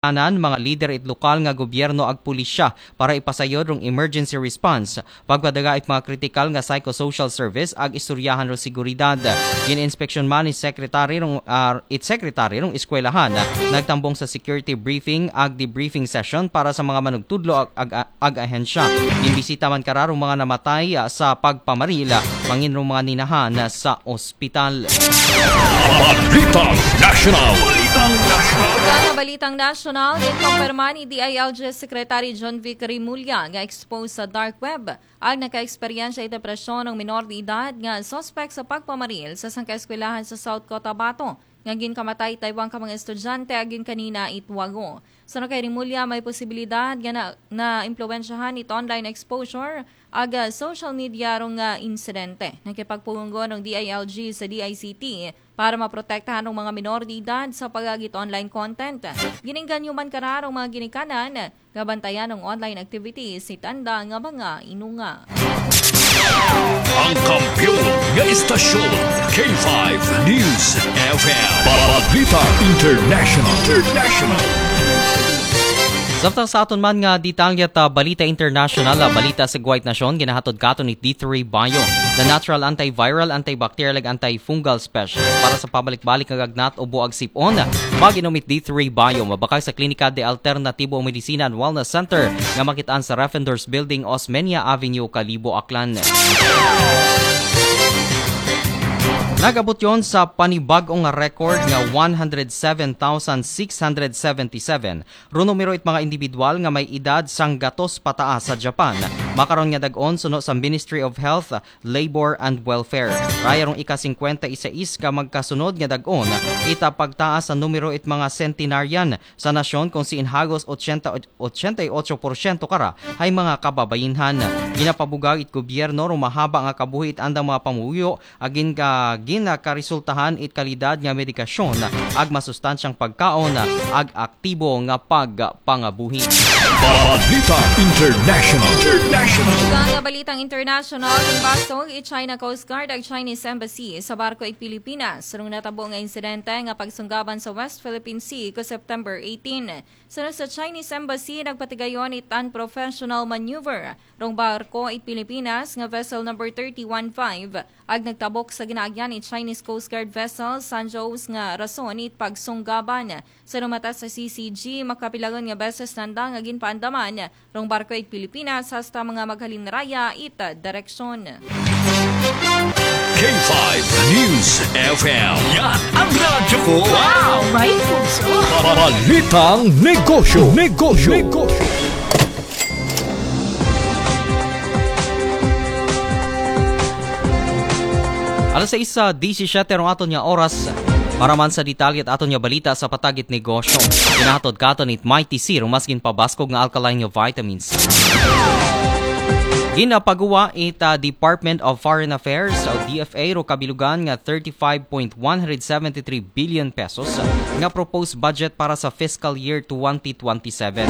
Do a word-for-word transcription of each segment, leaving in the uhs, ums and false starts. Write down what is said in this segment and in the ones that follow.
Tanan, mga lider it lokal nga gobyerno ag pulisya para ipasayod rong emergency response, pagpadaga it mga kritikal nga psychosocial service ag istoryahan rong seguridad. Gin-inspeksyon man ni Secretary rong, ah, it Secretary rong eskwelahan. Nagtambong sa security briefing ag debriefing session para sa mga manugtudlo ag, ag, ag ahensya. Ginbisita man kara rong mga namatay, ah, sa pagpamaril, ah, mangin rong mga ninahan, ah, sa ospital. Balitang National. Ug ang balitang nasyonal, ginkumpirma ni D I L G Secretary Jonvic Remulla nga expose sa dark web ang nakaeksperyensya it depresyon ng minor de edad nga suspek sa pagpamaril sa sangka eskwelahan sa South Cotabato nga ginkamatay it duwa ka mga estudyante agin kanina it Wago. Suno kay Remulla, may posibilidad nga na, naimpluwensyahan it online exposure ag, ah, social media rong, ah, insidente. Nakipagpunggo rong D I L G sa D I C T para maprotektahan rong mga minor de edad sa pag-agi it online content. Gin-engganyo man kara rong mga ginikanan nga bantayan ang online activities it anda nga mga inunga. Ang kampiyon nga istasyon, K five News F M. Balita International. International. Samtang sa aton man nga detalye ta balita international, ah, balita sa Guwait Nasyon, ginahatod katon it D three Bio, the natural antiviral, antibacterial, ug antifungal specialist para sa pabalik-balik nga gagnat o buag sip-on. Mag-inom it D three Bio, mabakal sa Klinika de Alternatibo Medicina and Wellness Center nga makit-an sa Refendors Building, Osmeña Avenue, Kalibo, Aklan. Nag-abot yon sa panibag-o nga record nga one hundred seven thousand six hundred seventy-seven rong numero it mga individual nga may edad sanggatos pataas sa Japan. Makaron nga dag-on suno sa Ministry of Health, Labor and Welfare. Raya rong ika-singkwenta y sais ka magkasunod nga dag-on it pagtaas sa numero it mga centenarian sa nasyon, kon siin hagos ochenta, ochenta y ocho porsyento kara hay mga kababayin-an. Ginapabugaw it gobyerno rong mahaba nga kabuhi it andang mga pamumuyo agin ka, ginakaresultahan it kalidad nga medikasyon ag masustansyang pagkaon ag aktibo nga pagpangabuhi. Balita International. International. Ug ang balitang international, ginbasog it China Coast Guard ag Chinese Embassy sa barko it Pilipinas rong natabo nga insidente nga pagsunggaban sa West Philippine Sea ko September eighteen. Suno sa Chinese Embassy, nagpatigayon it unprofessional maneuver rong barko it Pilipinas nga vessel number thirty-one five ag nagtabok sa ginaagyan it Chinese Coast Guard vessel Sanjos nga rason it pagsunggaban. Suno mata sa C C G, makapilangon nga beses nanda nga ginpaandaman rong barko it Pilipinas hasta mga maghalin raya it direksyon. K five News F M. Yan ang radyo ko. Wow! May puso. Balitang negosyo. Negosyo. Negosyo. Alas sais disisiete rong aton nga oras. Para man sa detalye it aton nga balita sa patag it negosyo, ginahatod katon it Mighty C rong mas ginpabaskog nga alkaline nga vitamins. Ginapaguwa it, ah, Department of Foreign Affairs o D F A rong kabilugan nga thirty-five point one hundred seventy-three billion pesos nga proposed budget para sa fiscal year twenty twenty-seven.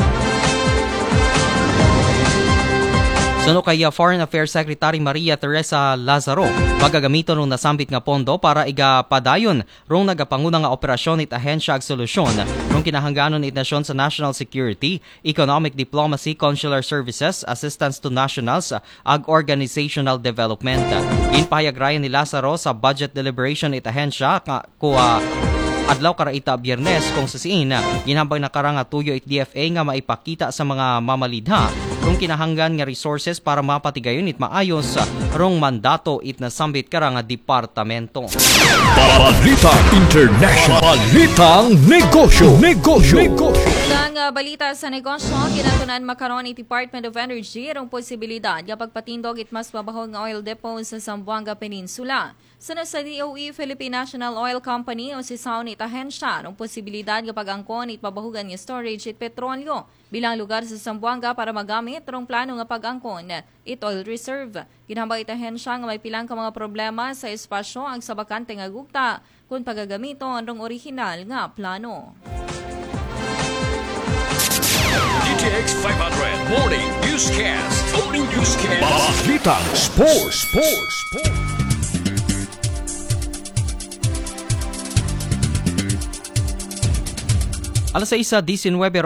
Suno kay, ah, Foreign Affairs Secretary Maria Teresa Lazaro, pagagamiton rong nasambit nga pondo para igapadayon rong nagapanguna nga operasyon it ahensya ag solusyon rong kinahangganon it nasyon sa national security, economic diplomacy, consular services, assistance to nationals, ag organizational development. Ginpahayag raya ni Lazaro sa budget deliberation it ahensya ka, ko, ah, adlaw kara ita Biyernes, kon sa siin, ah, ginhambal na kara nga tuyo it D F A nga maipakita sa mga mamalidha rong kinahanggan nga resources para mapatigayon it maayos, ah, rong mandato it nasambit kara nga departamento. Balita International. Balitang negosyo. Negosyo. Negosyo. Sa, ah, balita sa negosyo, ginatun-an makaron it Department of Energy rong posibilidad nga pagpatindog it mas mabaho nga oil depot sa Zamboanga Peninsula. Suno sa D O E, Philippine National Oil Company, o sisaw it ahensya rong posibilidad nga pag-angkon it mabahogan nga storage it petrolyo bilang lugar sa Zamboanga para magamit rong plano nga pag-angkon it oil reserve. Ginhambal it ahensya nga may pilang ka mga problema sa espasyo ag sa bakante nga gugta kon pagagamiton rong orihinal nga plano. D T X five hundred Morning Newscast. Morning Newscast. Balitang Sports. Sports. Sports. Alas sais sa diecinuebe